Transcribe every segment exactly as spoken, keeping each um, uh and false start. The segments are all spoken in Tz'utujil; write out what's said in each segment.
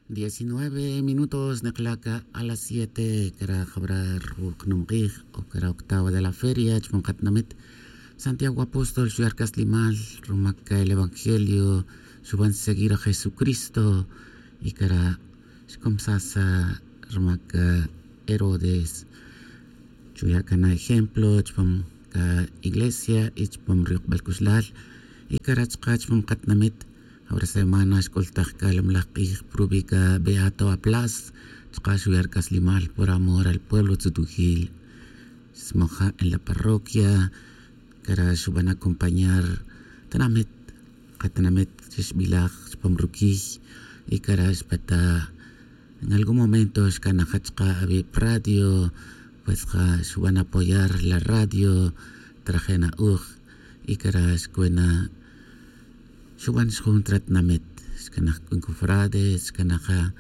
Diecinueve minutos nekla' ca a las siete cara jabra ruqnum k'ij o cara octava de la feria chupam katinamit. Santiago apóstol xuya' rcaslimal rumac el evangelio, xuban seguir a jesucristo. Y cara xcomsasa rumac herodes, chuya' cana ejemplo chupam ca iglesia y chupam ruyukbal c'uxlal. Y cara chka chupam katinamit, jabra semana xc'ultaj c'a lum laj k'ij prubi' ca beato aplas, chka xuya' rcaslimal por amor al pueblo tzutujil. Xsmoja' en la parroquia, cara xuban acompañar tinamit, katinamit chi xbilaj chupam ruquiy. Y cara xpeta en algún momento xcanaja chka avi' pradio, pues ja xuban apoyar la radio. Trajena uj y cara xcuena xuban xjun tratinamit, xcanaj c'un cofrades, xcanaja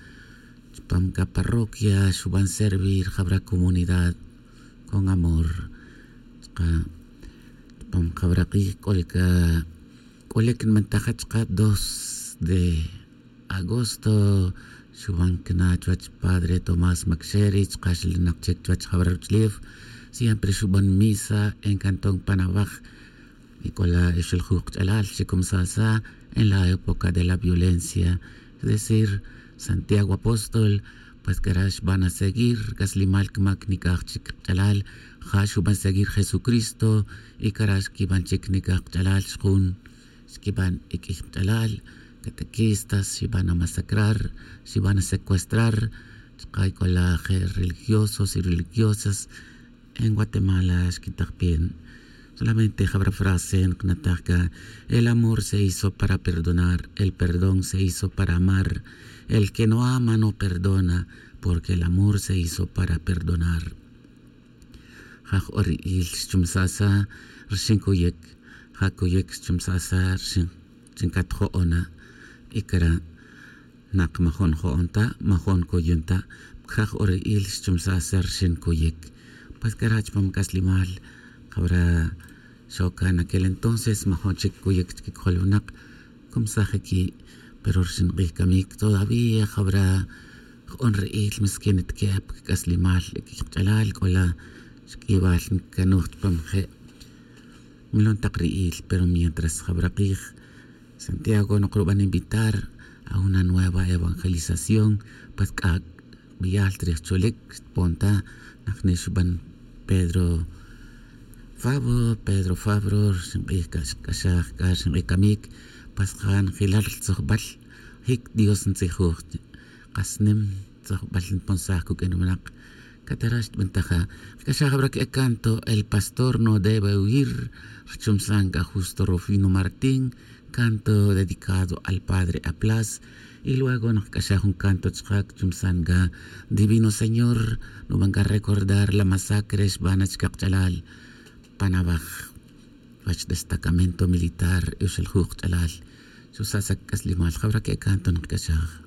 chupam ca parroquia xuban servir jabra comunidad con amor. Chka chupam jabra k'ij c'ol ca c'olic nbantaja chka dos de agosto, xuban cana chuwech padre tomás maxeri chka xlinak chic chuwech jabra ruch'ulef. Siempre xuban misa en cantón panawaj. Y c'ola ixiljuj kach'alal xicomsasa en la época de la violencia. Es decir, santiago apóstol, pues cara xban a seguir c'aslimal cmac nic'aj chic kach'alal. Ja xuban seguir jesucristo y cara xquiban chic nic'aj kach'alal xjun. Xquiban iq'uij kach'alal, catequistas xiban a masacrar, xiban a secuestrar. Chka c'ola je religiosos y religiosas en guatemala xquitak pin. Solamente jabra frase nknataj ca, el amor se hizo para perdonar, el perdón se hizo para amar. El que no ama no perdona, porque el amor se hizo para perdonar. Ja jo'on ri'il xchumsasa rxin coyic. Ja coyic xchumsasa rxin chat jo'ona. Y cara nak majon jo'on ta, majon coyon ta. Ja jo'on ri'il xchumsasa rxin coyic. Pues cara chupam c'aslimal jabra xoca en aquel entonces majon chic coyic chiquicojol winak. Comsaj iqui, pero rxin k'ij camic todavía jabra jo'on ri'il misquin nitquep cac'aslimal iqui kach'alal c'ola xq'uibal ncanuj chupam je' milon tak ri'il. Pero mientras jabra k'ij santiago nokruban invitar a una nueva evangelización, pues c'a beyal trij cholic xtpon ta. Najni xuban pedro fabro pedro fabro rxin k'ij c'a xk'axaj c'a rxin k'ij camic. Pues ja njilal rtzojbal jic dios ntzijuj kasnim tzojbal nponsaj cuq'uin winak. Catara xtbentaja kc'axaj abra c'a canto el pastor no debe huir. Rchumsan c'a justo rufino martín, canto dedicado al padre aplas. Y luego nokc'axaj jun canto chka cchumsan c'a divino señor, nuban c'a recordar la masacre xbana chka kach'alal pan awaj wach destacamento militar y uxeljuj kach'alal. Xusasa cac'aslimal jabra c'a canto nokc'axaj.